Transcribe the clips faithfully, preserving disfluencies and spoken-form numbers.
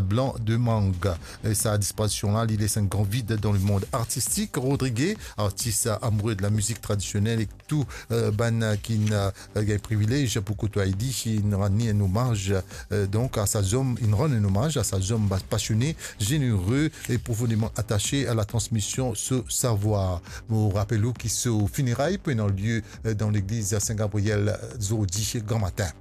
Blanc de Mangue. E sa disparision la, li les enn gran vid dan lemond artistik. Rodrigue, artis amoure de lamizik tradisionel, ek tou, eh, bann, eh, ki, eh, gagn privilez pou kotwaye li, inn rann li enn omaz, eh, donk, a sa zom, inn rann enn omaz a sa zom pasione, zenere e profondeman atase a la transmision so savwar. Mo rapel ou ki so fineray pou ena lie, eh, dan legliz Sin Gabriel, eh, zordi gramatin.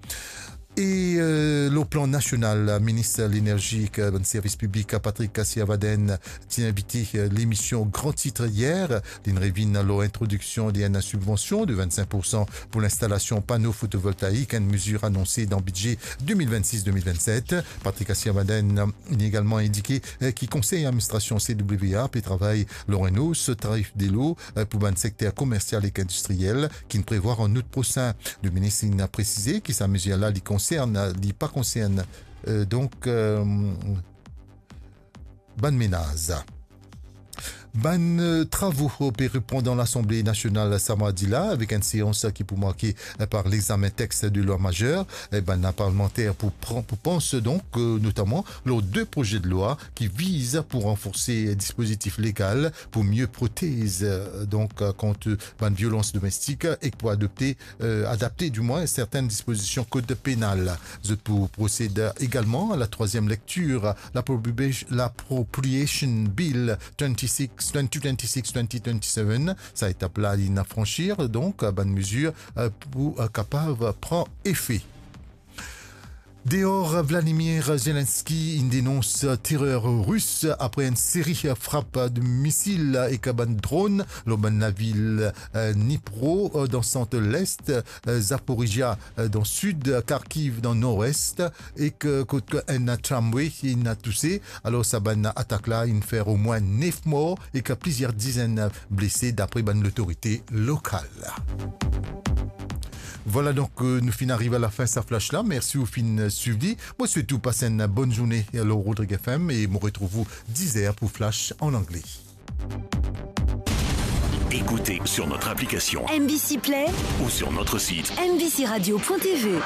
E, eh, lor plan nasional, minis lenerzi ek bann servis piblik, Patrick Kassir-Vadène, ti invite, eh, lemision Gran Tit yer. Linn revinn lor introdiksion de enn sibvansion de vennsenk poursan pou linstalasion pano fotovoltaik, enn mezir anonse dan bidze de mil vennsis de mil vennset. Patrick Kassir-Vadène, eh, inn egalman indike, eh, ki konsey administrasion C W A pe travay lor enn os tarif delo, eh, pou bann sekter komersial ek indistriel, ki'nn prevwar an out prosin. Leminis inn presize ki sa mezir la, li konsern, li pa konsern, eh, donk, eh, bann menaz. Bann, eh, travo pe repran dan Lasanble Nasional sa mardi la, avek enn seans ki pou marke, eh, par lexamen text de lwa mazer. Eh, bann parlmanter pou pran, pou pans donk, eh, notaman lor de proze de lwa ki viz pou ranforse dispozitif legal pou mie protez, eh, donk, eh, kont bann violans domestik ek pou adopte, eh, adapte dimwin sertenn dispozision kod penal. Zot pou prosed egalman a la trwaziem lektir, l'appropriation, l'Appropriation Bill twenty-six, twenty twenty-six, twenty twenty-seven. Sa etap la, linn fransir, donk, bann mezir, eh, pou, eh, kapav pran efe. Deor, Vladimir Zelensky inn denons terer ris apre enn seri frap de misil ek bann dron lor bann lavil, eh, Dnipro, eh, dan sant les, eh, Zaporizhia, eh, dan sid, Kharkiv dan nord-es, ek, eh, kot enn tramway inn touse. Alor, sa bann atak la inn fer omwin nef mor ek plizier dizenn blese, dapre bann lotorite lokal. Vwala, donk, eh, nou finn ariv a lafin sa flash la. Mersi ou finn swiv li. Mo swet ou pas enn bonn zourne lor Rodrigue F M e mo retrouv ou diz er pou flash an angle. Écoutez sur notre application M B C Play ou sur notre site M B C radio point T V.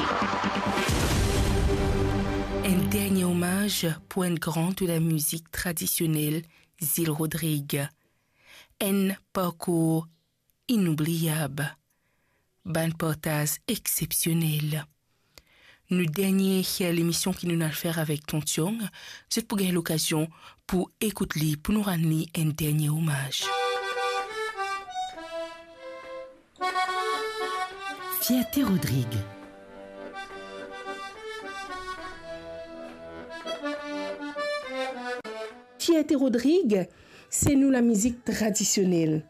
Enn dernie omaz pou enn gran de lamizik tradisionel, Zil Rodrigue. Enn parkour inoubliab. Bann partaz exsepsionel. Nou dernie lemision ki nou'nn al fer avek Ton Tiong, zot pou gagn lokazion pou ekout li, pou nou rann li enn dernie omaz. Fierte Rodrigue. Fierte Rodrigue, se nou lamizik tradisionel.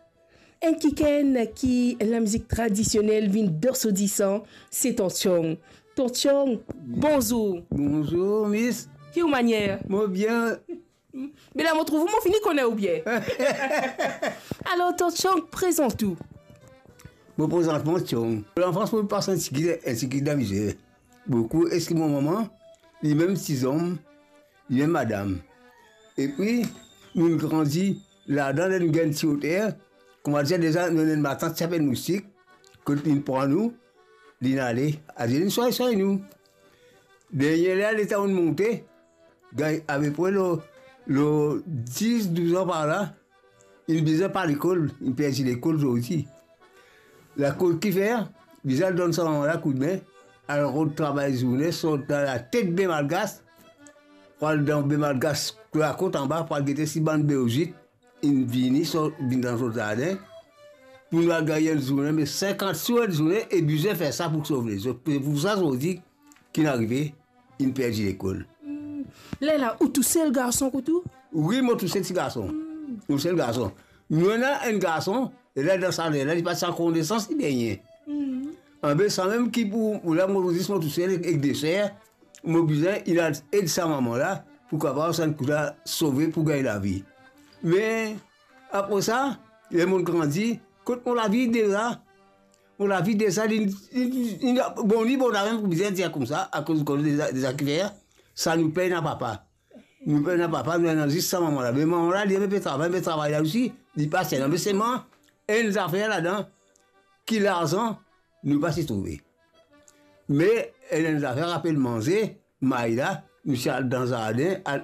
Enn kikenn ki lamizik tradisionel vinn dan so disan, se Ton Tiong. Ton Tiong, bonzour. Bonzour, Miss. Ki ou manier? Mo bien. Me la mo trouv ou, mo fini kone ou bien. Alor, Ton Tiong, prezant ou. Mo prezant mwa Tiong. Lanfans mo pas enn tigit, enn tigit dan mizer. Boukou, eski mo mama, limem ti zom, limem madam. Epi, nou grandi ladan, ler nou gagn ti oter, koumadir deza, nou ena enn matant ti apel Moustik, kot linn pran nou, linn ale, adir linn swagn, swagn nou. Dernie la, letan nou monte, gagn apepre lor, lor dis, douz an par la, inn bizin par lekol, inn perdi lekol zordi. Lakoz kifer, bizin al donn sa mama la koudme, al rod travay zourne, sort dan latet Be Malgas, pou al dan Be Malgas, lakot anba, pou al gete si bann beozit inn vini, sort, vinn dan zot zardin, pou nou al gagn enn zourne, me sinkant sou enn zourne, e bizin fer sa pou sov lezot. Se pou sa zordi ki'nn arive, inn perdi lekol. Hmm. Lerla, ou tousel garson kot ou? Wi, mo tousel ti garson. Hmm. Mo tousel garson. Nou ena enn garson, e la dan sa ler la, li pa ti ankor nesans, li benyen. Hmm. Anbe, samem ki pou, pou la, mo zis mo tousel ek, ek de ser, mo bizin, inn al ed sa mama la, pou kapav sa enn kou la sove pou gagn lavi. Me, apre sa, ler mo grandi, kot mo lavi deza, mo lavi deza, li, li, li, bon, li bon, la mem pou bizin dir koumsa, akoz, akoz deza, deza kifer, sa nou pena papa. Nou pena papa, nou ena zis sa mama la. Me mama la, li mem pe travay, pe travay la osi, li pa ti ena. Me selman, enn zafer ladan, ki larzan, nou pa ti trouve. Me, enn, enn zafer apel manze, may la, nou ti al dan zardin, al